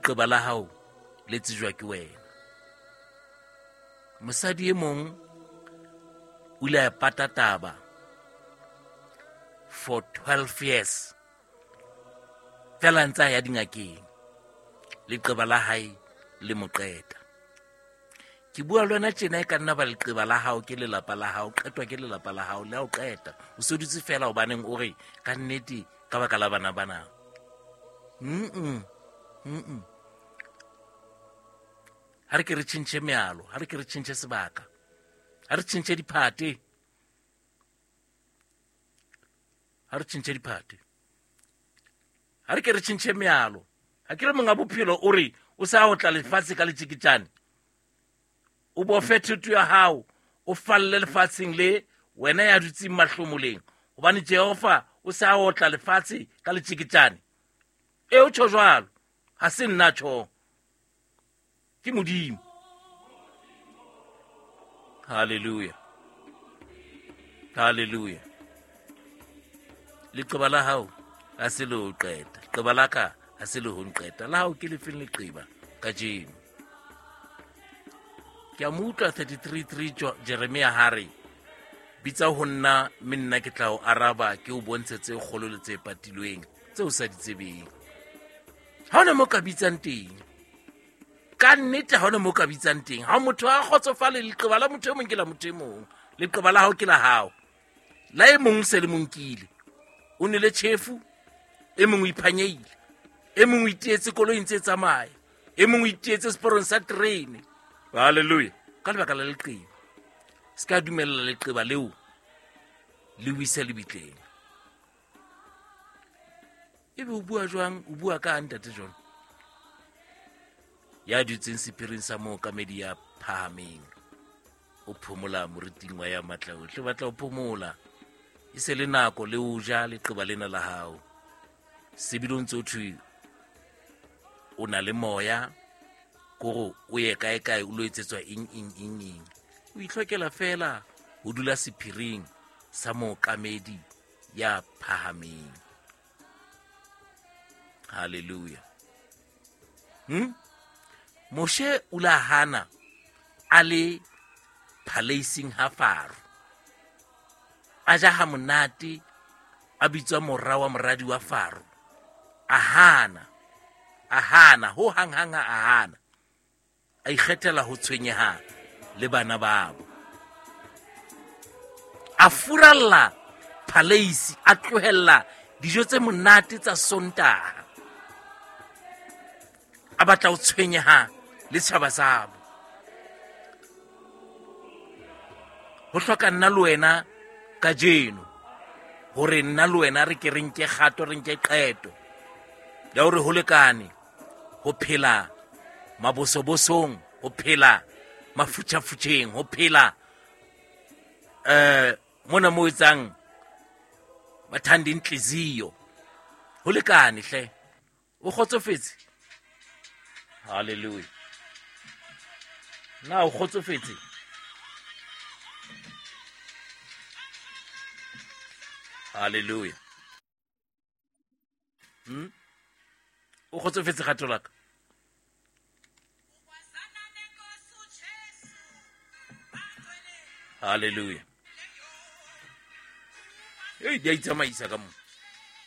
Leqeba la hao le tsejwa ke wena. Mosadi e mong o ile a pata taba for 12 years fela ntse a ya dingakeng, leqeba la hae le mo qeta. Ke bua le wena tjena, e ka nna ba leqeba la hao ke lelapa la hao, qetwa ke lelapa la hao, le ha o qeta o se dutse fela hobaneng o re ka nnete ka baka la bana bana. Ha re ke re tjhentjhe mealo, ha re ke re tjhentjhe sebaka, ha re tjhentjhe diphate, ha re tjhentjhe diphate, ha re ke re tjhentjhe mealo. Ha ke re monga bophelo o re o sa otla lefatshe ka letjeketjane, o bofe thoto ya hao, o falle lefatsheng le wena ya dutseng mahlomoleng, hobane Jehova o sa otla lefatshe ka letjeketjane. E o tjho jwalo, ha se nna tjho, ke Modimo. Hallelujah, hallelujah. Leqeba la hao ha se le ho qeta, leqeba la ka ha se le ho nqeta, la hao ke lefeng leqeba kajeno? Ke a mo utlwa 33:3 Jeremia ha re, bitsa ho nna mme nna ke tla o araba, ke o bontshe tse kgolo le tse patilweng tse o sa di tsebeng. Ha hona mo ka bitsang teng, ka nnete ha hona mo ka bitsang teng. Ha motho a kgotsofale, leqeba la motho e mong ke la motho e mong, leqeba la hao ke la hao, la e mong se le monkile, o nele tjhefu, e mong o iphanyehile, e mong o iteetse koloing tse tsamaya, e mong o iteetse seporong sa terene. Hallelujah. Ka lebaka la leqeba, se ka dumella leqeba leo le o ise lebitleng. Ebe o bua jwang? O bua ka ntate John ya dutseng sephiring sa mookamedi ya phahameng, o phomola moriting wa ya matla ohle. O batla ho phomola, e se le nako le o ja leqeba lena la hao. Sebile o ntse o thwe o na le moya, kore o ye kae kae o lo etsetswa eng eng eng eng. O itlhokela fela ho dula sephiring sa mookamedi ya phahameng. Hallelujah. Moshe o la hana a le phaleising ha Faro, a ja ha monate, a bitswa mora wa moradi wa Faro, a hana, a hana ho hang hang, a hana, a ikgethela ho tshwenyeha le bana babo, a furalla phaleisi, a tlohella dijo tse monate tsa Sontaha, a batla ho tshwenyeha le tjhaba sabo. Ho hloka nna le wena kajeno hore nna le wena re ke re nke kgato, re nke qeto ya hore ho lekane ho phela mabosobosong, ho phela mafutjhafutjheng, ho phela mona mo etsang bathandi inhliziyo. Ho lekane hle, o kgotsofetse? Hallelujah. Na o kgotsofetse? Hallelujah. O kgotsofetse kgato la ka? Hallelujah. Ei, di a itsamaisa ka mo.